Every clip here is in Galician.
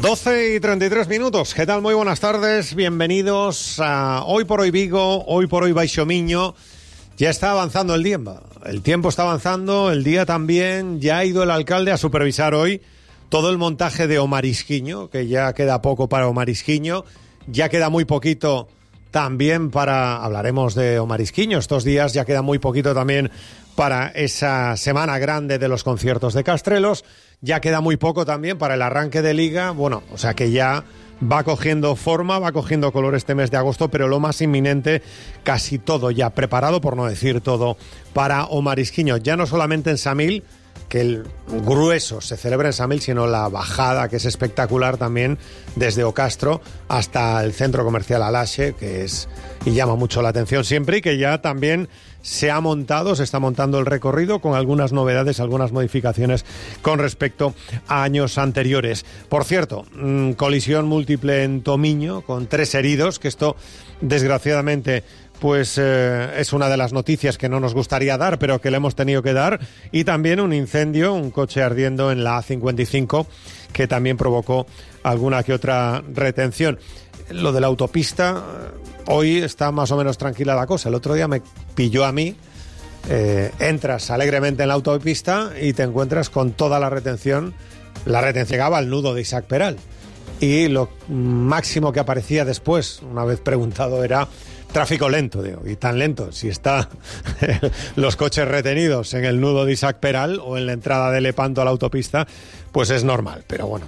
12:33. ¿Qué tal? Muy buenas tardes. Bienvenidos a Hoy por Hoy Vigo, Hoy por Hoy Baixo Miño. Ya está avanzando el tiempo. El tiempo está avanzando, el día también. Ya ha ido el alcalde a supervisar hoy todo el montaje de O Marisquiño, que ya queda poco para O Marisquiño. Ya queda muy poquito también para... Hablaremos de O Marisquiño. Estos días ya queda muy poquito también para esa semana grande de los conciertos de Castrelos. Ya queda muy poco también para el arranque de Liga. Bueno, o sea que ya va cogiendo forma, va cogiendo color este mes de agosto, pero lo más inminente, casi todo ya preparado, por no decir todo, para O Marisquiño. Ya no solamente en Samil, que el grueso se celebra en Samil, sino la bajada, que es espectacular también, desde Ocastro hasta el centro comercial Alaxe, que es y llama mucho la atención siempre, y que ya también se está montando el recorrido con algunas novedades, algunas modificaciones con respecto a años anteriores. Por cierto, colisión múltiple en Tomiño, con 3 heridos, que esto, desgraciadamente, pues es una de las noticias que no nos gustaría dar, pero que le hemos tenido que dar. Y también un incendio, un coche ardiendo en la A55, que también provocó alguna que otra retención. Lo de la autopista, hoy está más o menos tranquila la cosa. El otro día me pilló a mí. Entras alegremente en la autopista y te encuentras con toda la retención. La retención llegaba al nudo de Isaac Peral. Y lo máximo que aparecía después, una vez preguntado, era tráfico lento, digo, y tan lento, si está los coches retenidos en el nudo de Isaac Peral o en la entrada de Lepanto a la autopista, pues es normal. Pero bueno,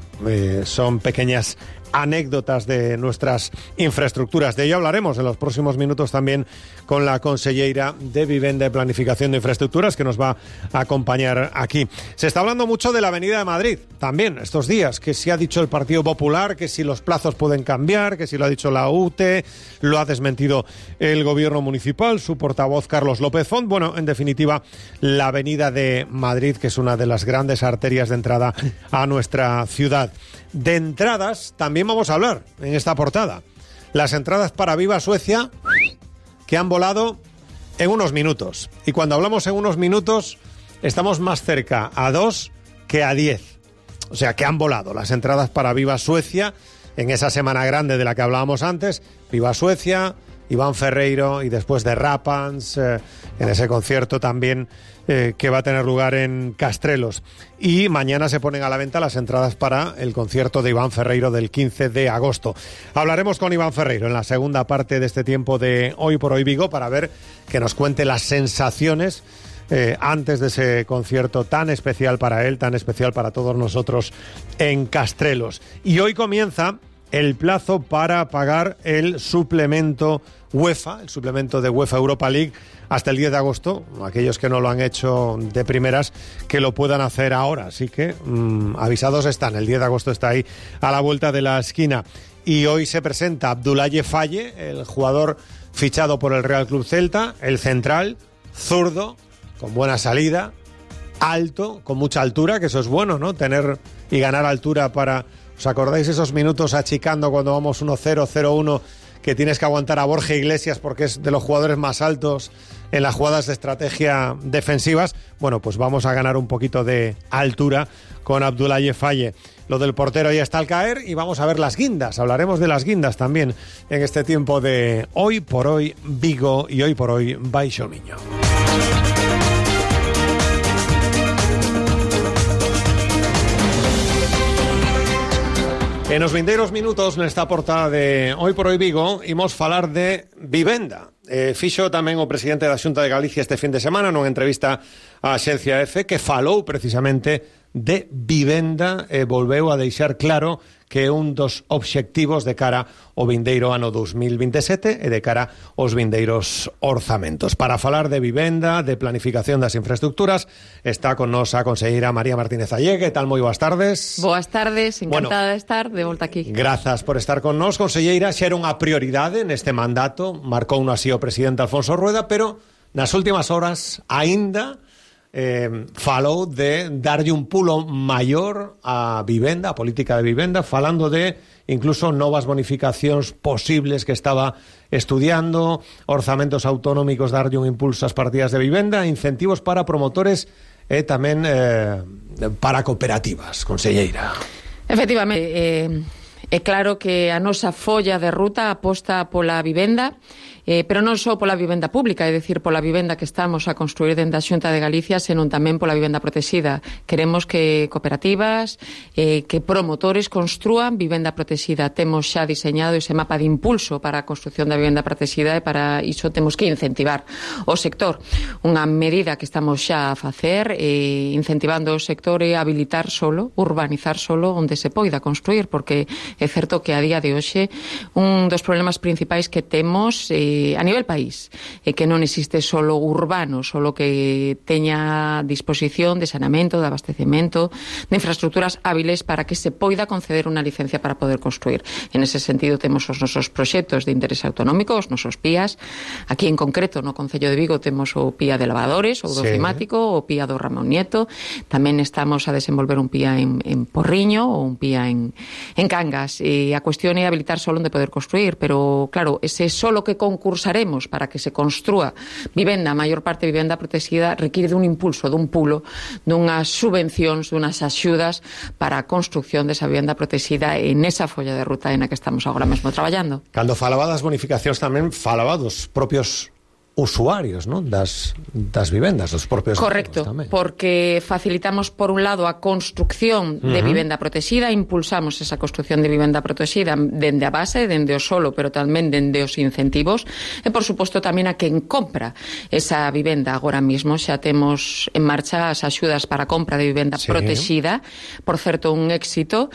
son pequeñas anécdotas de nuestras infraestructuras. De ello hablaremos en los próximos minutos también con la consellera de Vivenda y Planificación de Infraestructuras, que nos va a acompañar aquí. Se está hablando mucho de la Avenida de Madrid también estos días, que si ha dicho el Partido Popular, que si los plazos pueden cambiar, que si lo ha dicho la UTE, lo ha desmentido el gobierno municipal, su portavoz Carlos López Font. Bueno, en definitiva, la Avenida de Madrid, que es una de las grandes arterias de entrada a nuestra ciudad. De entradas también vamos a hablar en esta portada. Las entradas para Viva Suecia, que han volado en unos minutos. Y cuando hablamos en unos minutos, estamos más cerca a 2 que a 10. O sea, que han volado las entradas para Viva Suecia en esa semana grande de la que hablábamos antes. Viva Suecia, Iván Ferreiro y después de Rapans, en ese concierto también que va a tener lugar en Castrelos. Y mañana se ponen a la venta las entradas para el concierto de Iván Ferreiro del 15 de agosto. Hablaremos con Iván Ferreiro en la segunda parte de este tiempo de Hoy por Hoy Vigo para ver que nos cuente las sensaciones antes de ese concierto tan especial para él, tan especial para todos nosotros en Castrelos. Y hoy comienza el plazo para pagar el suplemento UEFA, el suplemento de UEFA Europa League, hasta el 10 de agosto. Aquellos que no lo han hecho de primeras, que lo puedan hacer ahora. Así que avisados están. El 10 de agosto está ahí a la vuelta de la esquina. Y hoy se presenta Abdoulaye Faye, el jugador fichado por el Real Club Celta, el central, zurdo, con buena salida, alto, con mucha altura, que eso es bueno, ¿no? Tener y ganar altura para... ¿Os acordáis esos minutos achicando cuando vamos 1-0, 0-1, que tienes que aguantar a Borja Iglesias porque es de los jugadores más altos en las jugadas de estrategia defensivas? Bueno, pues vamos a ganar un poquito de altura con Abdoulaye Faye. Lo del portero ya está al caer y vamos a ver las guindas. Hablaremos de las guindas también en este tiempo de Hoy por Hoy Vigo y Hoy por Hoy Baixo Miño. En los vindeiros minutos nesta portada de Hoy por Hoy Vigo imos falar de vivenda. Fixo tamén o presidente da Xunta de Galicia este fin de semana nunha entrevista á Axencia EFE, que falou precisamente de vivenda e volveu a deixar claro que é un dos obxectivos de cara ao vindeiro ano 2027 e de cara aos vindeiros orzamentos. Para falar de vivenda, de planificación das infraestructuras, está con nos a conselleira María Martínez Allé. Que tal? Moi boas tardes. Boas tardes, encantada de estar de volta aquí. Grazas por estar con nos, conselleira. Xa era unha prioridade neste mandato, marcou un así o presidente Alfonso Rueda, pero nas últimas horas aínda falou de darlle un pulo maior a vivenda, a política de vivenda, falando de incluso novas bonificacións posibles que estaba estudiando, orzamentos autonómicos, darlle un impulso ás partidas de vivenda, incentivos para promotores e tamén para cooperativas, conselleira. Efectivamente, é claro que a nosa folla de ruta aposta pola vivenda, pero non só pola vivenda pública, é dicir, pola vivenda que estamos a construir dentro da Xunta de Galicia, senón tamén pola vivenda protexida. Queremos que cooperativas, que promotores construan vivenda protexida. Temos xa diseñado ese mapa de impulso para a construcción da vivenda protexida e para iso temos que incentivar o sector. Unha medida que estamos xa a facer, incentivando o sector e habilitar solo, urbanizar solo onde se poida construir, porque é certo que a día de hoxe un dos problemas principais que temos a nivel país é que non existe solo urbano, solo que teña disposición de saneamento, de abastecemento, de infraestructuras hábiles para que se poida conceder unha licencia para poder construir. En ese sentido temos os nosos proxectos de interés autonómico, os nosos PIAs. Aquí en concreto no Concello de Vigo temos o PIA de lavadores, o do climático, o PIA do Ramón Nieto. Tamén estamos a desenvolver un PIA en Porriño ou un PIA en Cangas. E a cuestión é habilitar solo onde poder construir, pero claro, ese solo que concursaremos para que se construa vivenda, a maior parte de vivenda protegida, require dun impulso, dun pulo, dunhas subvencións, dunhas axudas para a construcción desa vivenda protegida en esa folla de ruta na que estamos agora mesmo traballando. Cando falaba das bonificacións tamén falaba dos propios usuarios, ¿no? das vivendas, dos propios... Correcto, porque facilitamos por un lado a construcción de vivenda protegida, impulsamos esa construcción de vivenda protegida dende a base, dende o solo, pero tamén dende os incentivos, e por suposto tamén a quen compra esa vivenda. Agora mismo xa temos en marcha as axudas para a compra de vivenda protegida, por certo un éxito,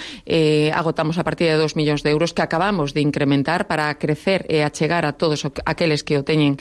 agotamos a partir de 2 millóns de euros que acabamos de incrementar para crecer e achegar a todos aqueles que o teñen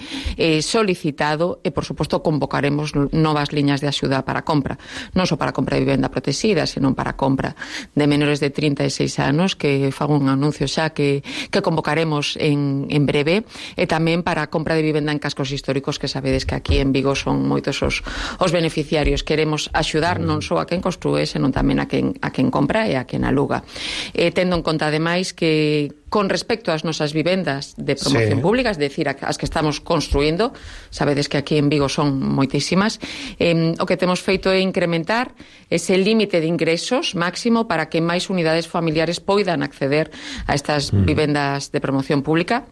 solicitado e, por suposto, convocaremos novas liñas de axuda para a compra. Non só para a compra de vivenda protegida, senón para a compra de menores de 36 anos, que fago un anuncio xa que convocaremos en breve, e tamén para a compra de vivenda en cascos históricos, que sabedes que aquí en Vigo son moitos os beneficiarios. Queremos axudar non só a quen construe, senón tamén a quen compra e a quen aluga. Tendo en conta, ademais, que con respecto ás nosas vivendas de promoción pública, es decir, as que estamos construindo, sabedes que aquí en Vigo son moitísimas, o que temos feito é incrementar ese límite de ingresos máximo para que máis unidades familiares poidan acceder a estas vivendas de promoción pública.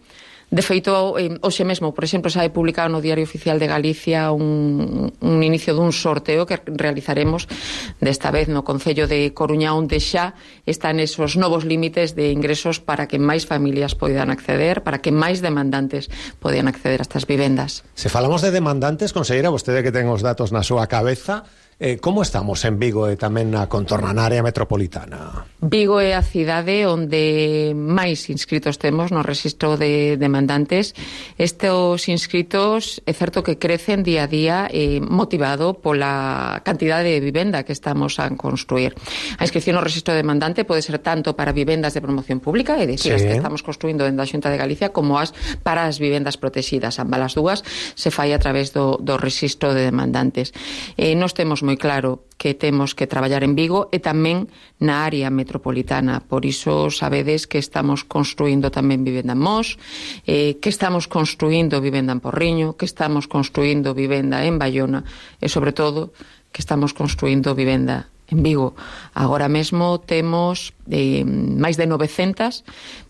De feito, hoxe mesmo, por exemplo, xa hai publicado no Diario Oficial de Galicia un inicio dun sorteo que realizaremos desta vez no Concello de Coruña, onde xa están esos novos límites de ingresos para que máis familias poidan acceder, para que máis demandantes poidan acceder a estas vivendas. Se falamos de demandantes, conselleira, vostede que ten os datos na súa cabeza, como estamos en Vigo e tamén na contorna, na área metropolitana? Vigo é a cidade onde máis inscritos temos no rexistro de demandantes. Estes inscritos é certo que crecen día a día, motivado pola cantidade de vivenda que estamos a construir. A inscripción no rexistro de demandante pode ser tanto para vivendas de promoción pública, é dicir, as que estamos construindo dentro da Xunta de Galicia, como para as vivendas protegidas. Ambas as dúas se fai a través do rexistro de demandantes. Nos temos moi claro que temos que traballar en Vigo e tamén na área metropolitana. Por iso sabedes que estamos construindo tamén vivenda en Mos, que estamos construindo vivenda en Porriño, que estamos construindo vivenda en Baiona e, sobre todo, que estamos construindo vivenda en Vigo. Agora mesmo temos máis de 900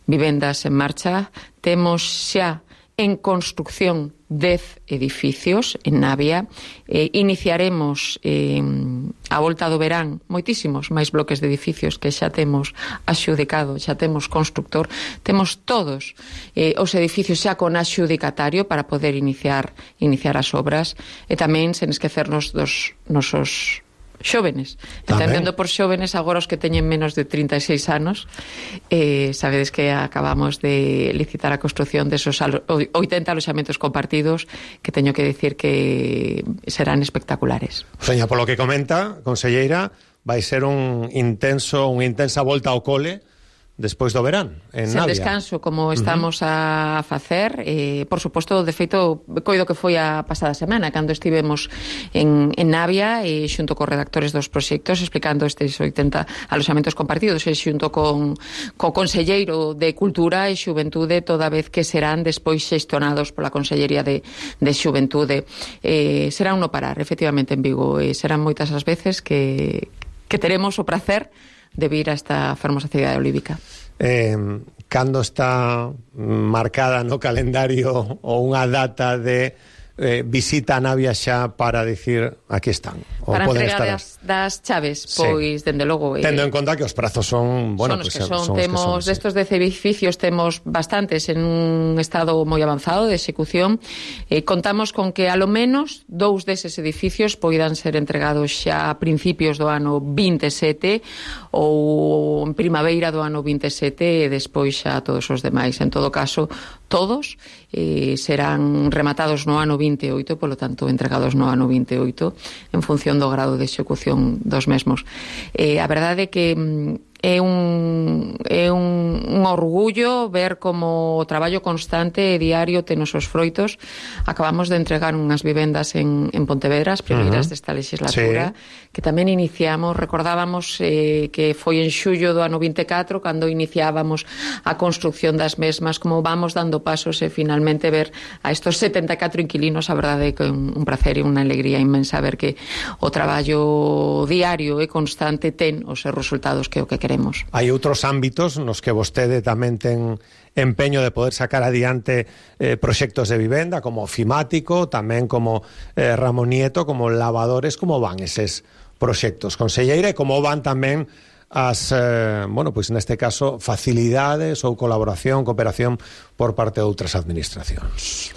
vivendas en marcha. Temos xa en construcción 10 edificios en Navia. Iniciaremos a volta do verán moitísimos máis bloques de edificios que xa temos axudicado, xa temos constructor, temos todos os edificios xa con axudicatario para poder iniciar as obras, e tamén sen esquecernos dos nosos xóvenes, entendendo por xóvenes agora os que teñen menos de 36 anos. Sabedes que acabamos de licitar a construción desos 80 aloxamentos compartidos, que teño que decir que serán espectaculares. Seña, polo que comenta, conselleira, vai ser unha intensa volta ao cole despois do verán, en Navia. Sen descanso, como estamos a facer. Por suposto, de feito, coido que foi a pasada semana, cando estivemos en Navia, xunto cos redactores dos proxectos, explicando estes 80 aloxamentos compartidos, e xunto co conselleiro de Cultura e Xuventude, toda vez que serán despois xestionados pola Consellería de Xuventude. Será un no parar, efectivamente, en Vigo. Serán moitas as veces que teremos o prazer de vir a esta fermosa cidade olívica. Cando está marcada no calendario ou unha data de visita a Navia xa para dicir aquí están? Para entregar das chaves, pois, dende logo... Tendo en conta que os prazos son... Bueno, son os que son. Temos destos 10 edificios, temos bastantes en un estado moi avanzado de execución. Contamos con que, alo menos, 2 deses edificios poidan ser entregados xa a principios do ano 27 ou en primavera do ano 27 e despois xa todos os demais. En todo caso, todos serán rematados no ano 28, polo tanto, entregados no ano 28, en función do grado de execución dos mesmos. A verdade é que é un orgullo ver como o traballo constante e diario ten os seus froitos. Acabamos de entregar unhas vivendas en Pontevedra, as primeiras desta legislatura, que tamén iniciamos, recordábamos que foi en xullo do ano 24 cando iniciábamos a construcción das mesmas, como vamos dando pasos e finalmente ver a estos 74 inquilinos. A verdade é que é un placer e unha alegría inmensa ver que o traballo diario e constante ten os seus resultados, que é o que queremos. Hai outros ámbitos nos que vostede tamén ten empeño de poder sacar adiante proxectos de vivenda, como Ofimático, tamén como Ramón Nieto, como Lavadores. Como van eses proxectos, conselleira, e como van tamén as, bueno, pois neste caso, facilidades ou colaboración, cooperación por parte de outras administracións?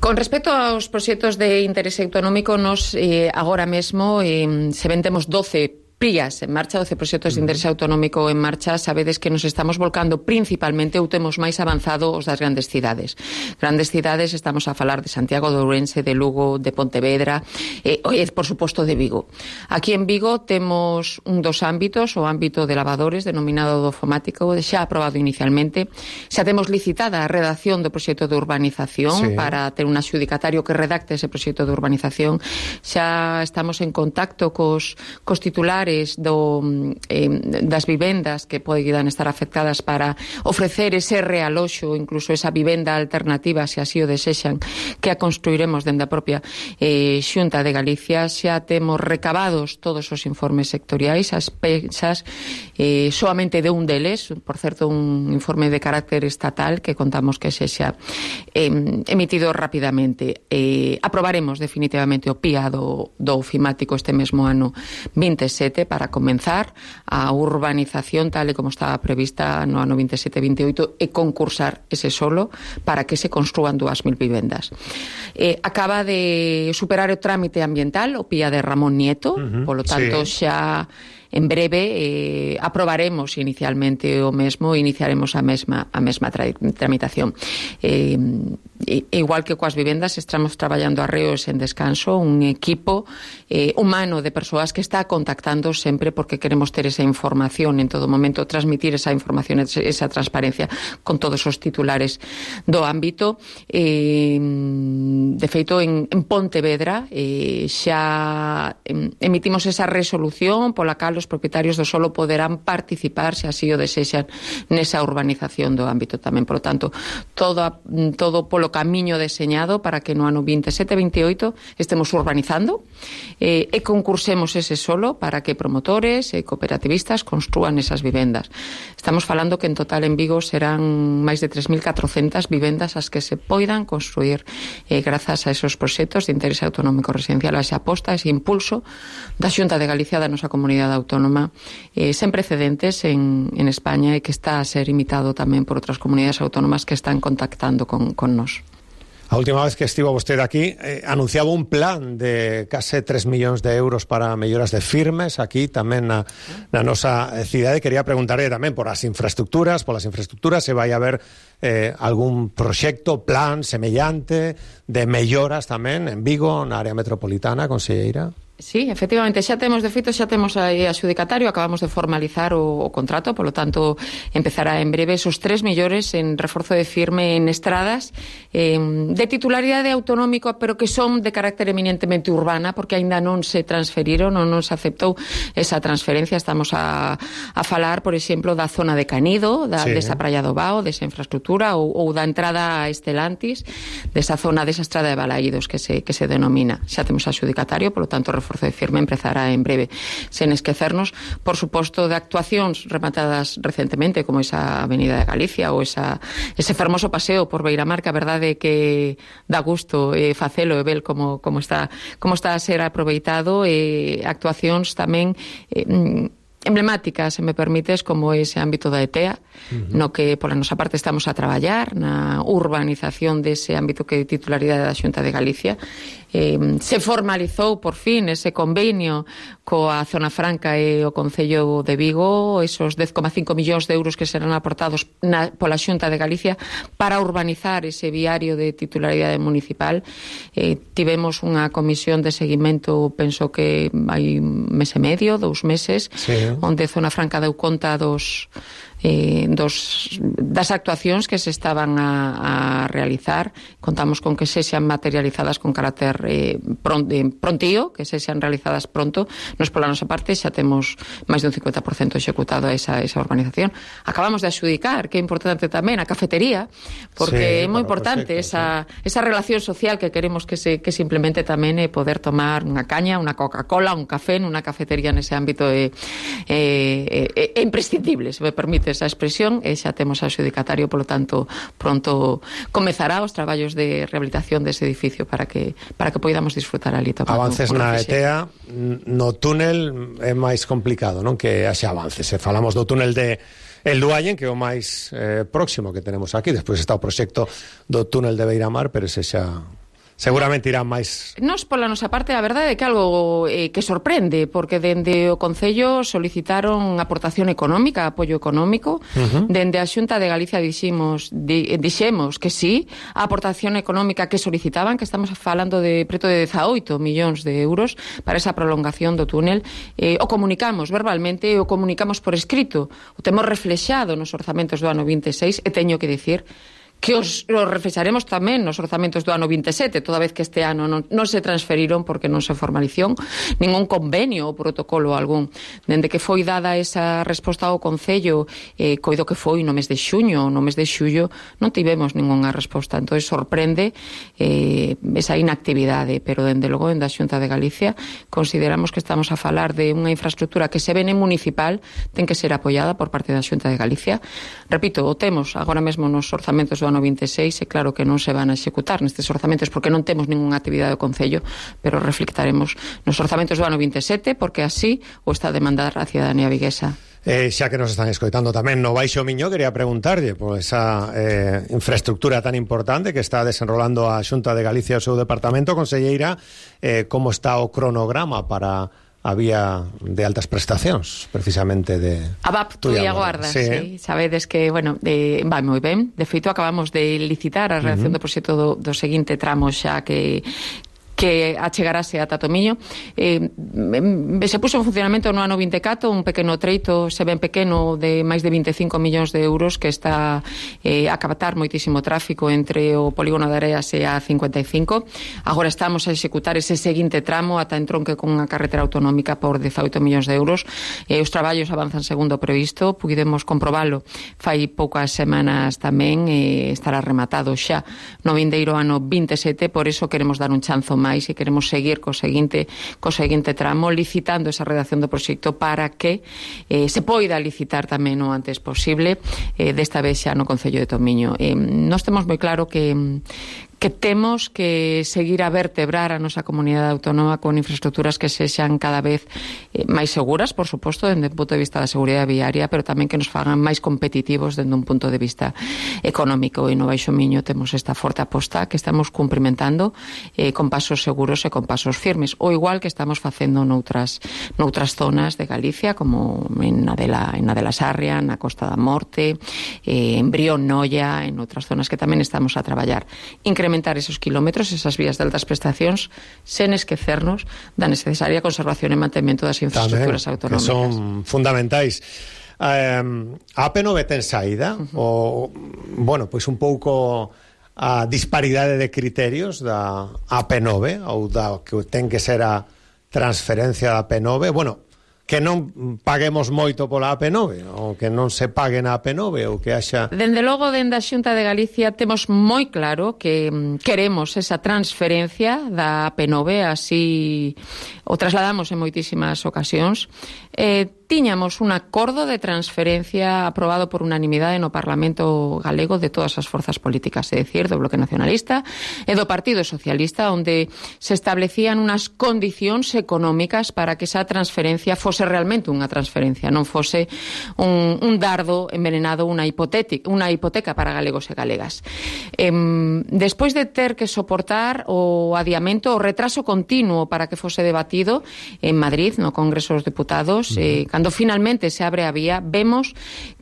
Con respecto aos proxectos de interese autonómico, nos agora mesmo se ven temos 12 PRIAs en marcha, 12 proxectos de interese autonómico en marcha. Sabedes que nos estamos volcando principalmente, ou temos máis avanzado, os das grandes cidades. Grandes cidades, estamos a falar de Santiago de Ourense, de Lugo, de Pontevedra e, por suposto, de Vigo. Aquí en Vigo temos dos ámbitos, o ámbito de lavadores, denominado do Ofimático, xa aprobado inicialmente. Xa temos licitada a redacción do proxecto de urbanización para ter un adxudicatario que redacte ese proxecto de urbanización. Xa estamos en contacto cos titulares das vivendas que poden estar afectadas para ofrecer ese realoxo, incluso esa vivenda alternativa, se así o desexan, que a construiremos dende a propia Xunta de Galicia. Xa temos recabados todos os informes sectoriais, as pexas soamente de un deles, por certo, un informe de carácter estatal que contamos que sexa emitido rapidamente. Aprobaremos definitivamente o PIA do Ofimático este mesmo ano 27 para comenzar a urbanización tal e como estaba prevista no ano 27-28 e concursar ese solo para que se construan 2.000 vivendas. Acaba de superar o trámite ambiental o PIA de Ramón Nieto, polo tanto xa en breve aprobaremos inicialmente o mesmo e iniciaremos a mesma tramitación. Igual que coas vivendas, estamos traballando arreo e sen descanso, un equipo humano de persoas que está contactando sempre porque queremos ter esa información en todo momento, transmitir esa información, esa transparencia con todos os titulares do ámbito. De feito, en Pontevedra xa emitimos esa resolución pola cal os propietarios do solo poderán participar, se así o desexan, nesa urbanización do ámbito tamén. Por lo tanto, todo polo camiño deseñado para que no ano 27-28 estemos urbanizando e concursemos ese solo para que promotores e cooperativistas construan esas vivendas. Estamos falando que en total en Vigo serán máis de 3.400 vivendas as que se poidan construir grazas a esos proxectos de interese autonómico residencial, a esa aposta, ese impulso da Xunta de Galicia, da nosa comunidade autónoma, sen precedentes en España e que está a ser imitado tamén por outras comunidades autónomas que están contactando con nós. A última vez que estivo vostede aquí anunciaba un plan de case 3 millóns de euros para melloras de firmes aquí tamén na nosa cidade. Quería preguntarle tamén por as infraestructuras, se vai haber algún proxecto, plan semellante de melloras tamén en Vigo, na área metropolitana, conselleira? Sí, efectivamente, xa temos aí adxudicatario, acabamos de formalizar o contrato, polo tanto, empezará en breve esos 3 millóns en reforzo de firme en estradas de titularidade autonómica, pero que son de carácter eminentemente urbana, porque aínda non se transferiron, non se aceptou esa transferencia. Estamos a falar, por exemplo, da zona de Canido, desa Praia do Bao, desa infraestructura, ou da entrada a Estelantis, desa zona, desa estrada de Balaídos que se denomina. Xa temos adxudicatario, polo tanto, reforzo esforzo de firme empezará en breve. Sen esquecernos, por suposto, de actuacións rematadas recentemente, como esa Avenida de Galicia ou ese fermoso paseo por Beiramar, que a verdade é que dá gusto facelo e ver como está a ser aproveitado, actuacións tamén emblemáticas, se me permites, como ese ámbito da ETEA, no que pola nosa parte estamos a traballar na urbanización dese ámbito que é titularidade da Xunta de Galicia. Se formalizou por fin ese convenio coa Zona Franca e o Concello de Vigo, esos 10,5 millóns de euros que serán aportados pola Xunta de Galicia para urbanizar ese viario de titularidade municipal. Tivemos unha comisión de seguimento, penso que hai un mes e medio, 2 meses, sí, onde Zona Franca deu conta das actuacións que se estaban a realizar. Contamos con que sexan materializadas con carácter prontío, que sexan realizadas pronto. Nos pola nosa parte xa temos máis dun 50% executado a esa urbanización. Acabamos de adxudicar, que é importante tamén, a cafetería, porque sí, é moi importante esa relación social que queremos que se implemente tamén, poder tomar unha caña, unha Coca-Cola, un café nunha cafetería nese ámbito é imprescindible, se me permite esa expresión, e xa temos a adxudicatario, polo tanto, pronto comezará os traballos de rehabilitación dese edificio para que poidamos disfrutar ali. Avances na ETEA, no túnel é máis complicado, non? Que haxa avances. Se falamos do túnel de El Duayen, que é o máis próximo que tenemos aquí, despois está o proxecto do túnel de Beiramar, pero ese xa seguramente irán máis. Nos, pola nosa parte, a verdade é que algo que sorprende, porque dende o Concello solicitaron aportación económica, apoio económico. Dende a Xunta de Galicia dixemos que sí, a aportación económica que solicitaban, que estamos falando de preto de 18 millóns de euros para esa prolongación do túnel. O comunicamos verbalmente, o comunicamos por escrito, o temos reflexado nos orzamentos do ano 26, e teño que dicir que os reflexaremos tamén nos orzamentos do ano 27, toda vez que este ano non se transferiron porque non se formalizou ningún convenio ou protocolo algún. Dende que foi dada esa resposta ao Concello, coido que foi no mes de xuño, no mes de xullo, non tivemos ningunha resposta. Entón sorprende esa inactividade, pero dende logo, dende a Xunta de Galicia, consideramos que estamos a falar de unha infraestructura que se vene municipal, ten que ser apoiada por parte da Xunta de Galicia. Repito, o temos agora mesmo nos orzamentos do ano 26, e claro que non se van a executar nestes orzamentos porque non temos ninguna actividade do Concello, pero reflectaremos nos orzamentos do ano 27 porque así o está a demandar a cidadanía viguesa. Xa que nos están escoitando tamén no Baixo Miño, quería preguntarlle por esa infraestructura tan importante que está desenrolando a Xunta de Galicia o seu departamento. Conselleira, como está o cronograma para a vía de altas prestacións, precisamente de a VAP Tuia Guarda, sí. Sabedes que, bueno, vai moi ben. De feito, acabamos de licitar a redacción do proxecto do seguinte tramo xa que achegarase a Tatomiño. Se puso en funcionamento no ano 24 un pequeno treito, se ben pequeno, de máis de 25 millóns de euros, que está a captar moitísimo tráfico entre o polígono de Areas e a 55. Agora estamos a executar ese seguinte tramo ata entronque con unha carretera autonómica por 18 millóns de euros. Os traballos avanzan segundo o previsto, pudemos comprobalo fai poucas semanas tamén, estará rematado xa no vindeiro ano 27, por iso queremos dar un chanzo máis e queremos seguir co seguinte tramo, licitando esa redacción do proxecto para que se poida licitar tamén o antes posible, desta vez xa no Concello de Tomiño. Nós temos moi claro que temos que seguir a vertebrar a nosa comunidade autónoma con infraestructuras que sexan cada vez máis seguras, por suposto, dende o punto de vista da seguridade viaria, pero tamén que nos fagan máis competitivos dende un punto de vista económico. E no Baixo Miño temos esta forte aposta que estamos cumprimentando con pasos seguros e con pasos firmes, o igual que estamos facendo noutras zonas de Galicia, como na de la Sarria, na Costa da Morte, en Brión, Noia, en outras zonas que tamén estamos a traballar. Incrementar esos kilómetros, esas vías de altas prestacións, sen esquecernos da necesaria conservación e mantemento das infraestructuras autonómicas. Que son fundamentais. A AP9 ten saída? Bueno, pois un pouco a disparidade de criterios da AP9 ou da que ten que ser a transferencia da AP9, bueno, que non paguemos moito pola AP9, ou que non se paguen a Penove ou que haxa... Dende logo, dende a Xunta de Galicia temos moi claro que queremos esa transferencia da Penove, así o trasladamos en moitísimas ocasións. Tiñamos un acordo de transferencia aprobado por unanimidade no Parlamento galego de todas as forzas políticas, é dicir, do Bloque Nacionalista e do Partido Socialista, onde se establecían unas condicións económicas para que esa transferencia fose realmente unha transferencia, non fose un dardo envenenado, unha hipoteca para galegos e galegas. Despois de ter que soportar o adiamento, o retraso continuo para que fose debatido en Madrid, no Congreso dos Deputados, cando finalmente se abre a vía, vemos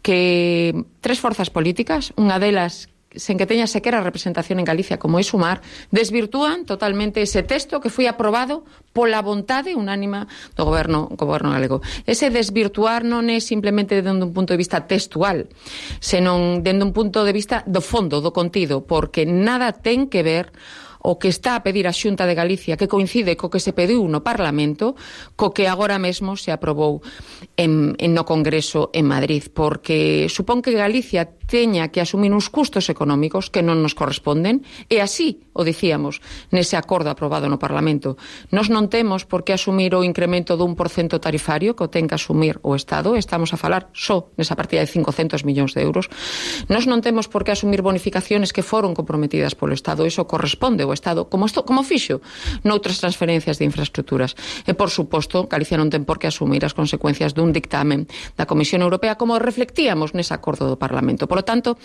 que tres forzas políticas, unha delas sen que teña sequera representación en Galicia como é Sumar, desvirtúan totalmente ese texto que foi aprobado pola vontade unánima do goberno galego. Ese desvirtuar non é simplemente dende un punto de vista textual, senón dende un punto de vista do fondo, do contido, porque nada ten que ver o que está a pedir a Xunta de Galicia, que coincide co que se pediu no Parlamento, co que agora mesmo se aprobou no Congreso en Madrid, porque supón que Galicia teña que asumir uns custos económicos que non nos corresponden, e así o dicíamos nese acordo aprobado no Parlamento. Nos non temos por que asumir o incremento dun % tarifario que o ten que asumir o Estado, estamos a falar só nesa partida de 500 millóns de euros. Nos non temos por que asumir bonificaciones que foron comprometidas polo Estado, iso corresponde ao Estado, como fixo noutras transferencias de infraestructuras. E, por suposto, Galicia non ten por que asumir as consecuencias dun dictamen da Comisión Europea, como reflectíamos nese acordo do Parlamento. Polo tanto,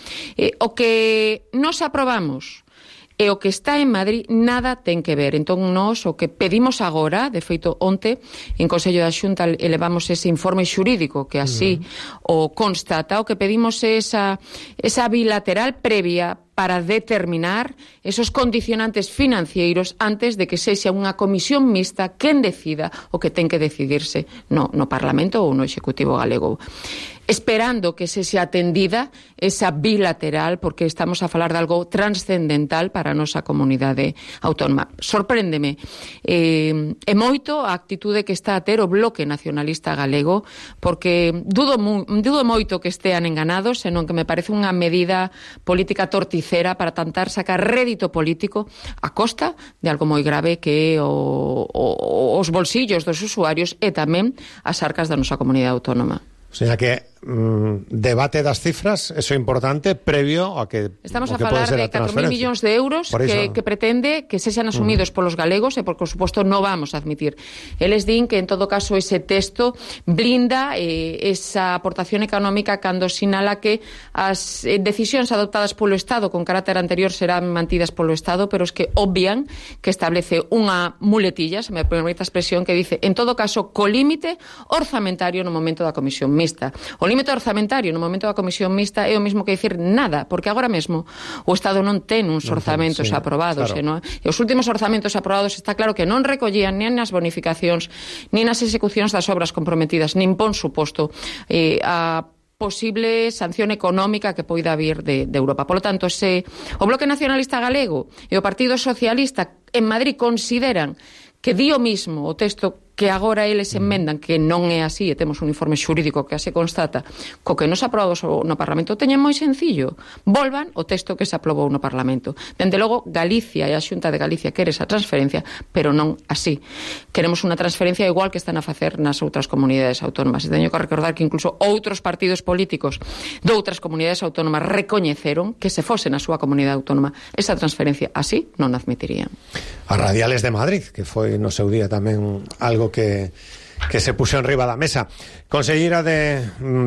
o que nos aprobamos e o que está en Madrid nada ten que ver. Entón, nós o que pedimos agora, de feito, onte, en Consello da Xunta elevamos ese informe xurídico que así o constata, o que pedimos é esa bilateral previa para determinar esos condicionantes financeiros antes de que sexa unha comisión mixta quen decida o que ten que decidirse no Parlamento ou no Executivo galego. Esperando que se xa atendida esa bilateral, porque estamos a falar de algo transcendental para a nosa comunidade autónoma. Sorpréndeme e moito a actitude que está a ter o Bloque Nacionalista galego, porque dudo moito que estean enganados, senón que me parece unha medida política torticera para tentar sacar rédito político a costa de algo moi grave que é os bolsillos dos usuarios e tamén as arcas da nosa comunidade autónoma. O sea que debate das cifras, eso é importante, previo a que estamos a falar de 4.000 millóns de euros que pretende que sexan asumidos polos galegos e, por suposto, non vamos a admitir. Eles din que, en todo caso, ese texto blinda esa aportación económica cando sinala que as decisións adoptadas polo Estado con carácter anterior serán mantidas polo Estado, pero es que obvian que establece unha muletilla, se me permite a expresión, que dice, en todo caso, co límite orzamentario no momento da comisión mixta. O límite orzamentario no momento da comisión mixta é o mesmo que dicir nada, porque agora mesmo o Estado non ten uns orzamentos aprobados, claro. E os últimos orzamentos aprobados está claro que non recollían nin as bonificacións, nin as execucións das obras comprometidas, nin pon suposto a posible sanción económica que poida vir de Europa. Por lo tanto, se o Bloque Nacionalista Galego e o Partido Socialista en Madrid consideran que di o mismo o texto que agora eles enmendan, que non é así, e temos un informe xurídico que así constata, co que nos aprobamos no Parlamento, teñen moi sencillo. Volvan o texto que se aprobou no Parlamento. Dende logo, Galicia e a Xunta de Galicia quere esa transferencia, pero non así. Queremos unha transferencia igual que están a facer nas outras comunidades autónomas. E teño que recordar que incluso outros partidos políticos de outras comunidades autónomas recoñeceron que se fose na súa comunidade autónoma esa transferencia así non admitirían. As radiales de Madrid, que foi no seu día tamén algo que se puxo en riba da mesa. Conselleira de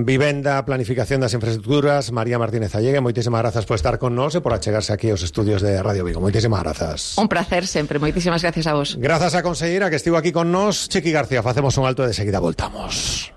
Vivenda, Planificación das Infraestructuras, María Martínez Allegue, moitísimas grazas por estar con nós e por achegarse aquí aos estudios de Radio Vigo. Moitísimas grazas. Un placer sempre, moitísimas gracias a vos. Grazas á conselleira que estivo aquí con nós. Chiqui García, facemos un alto e de seguida voltamos.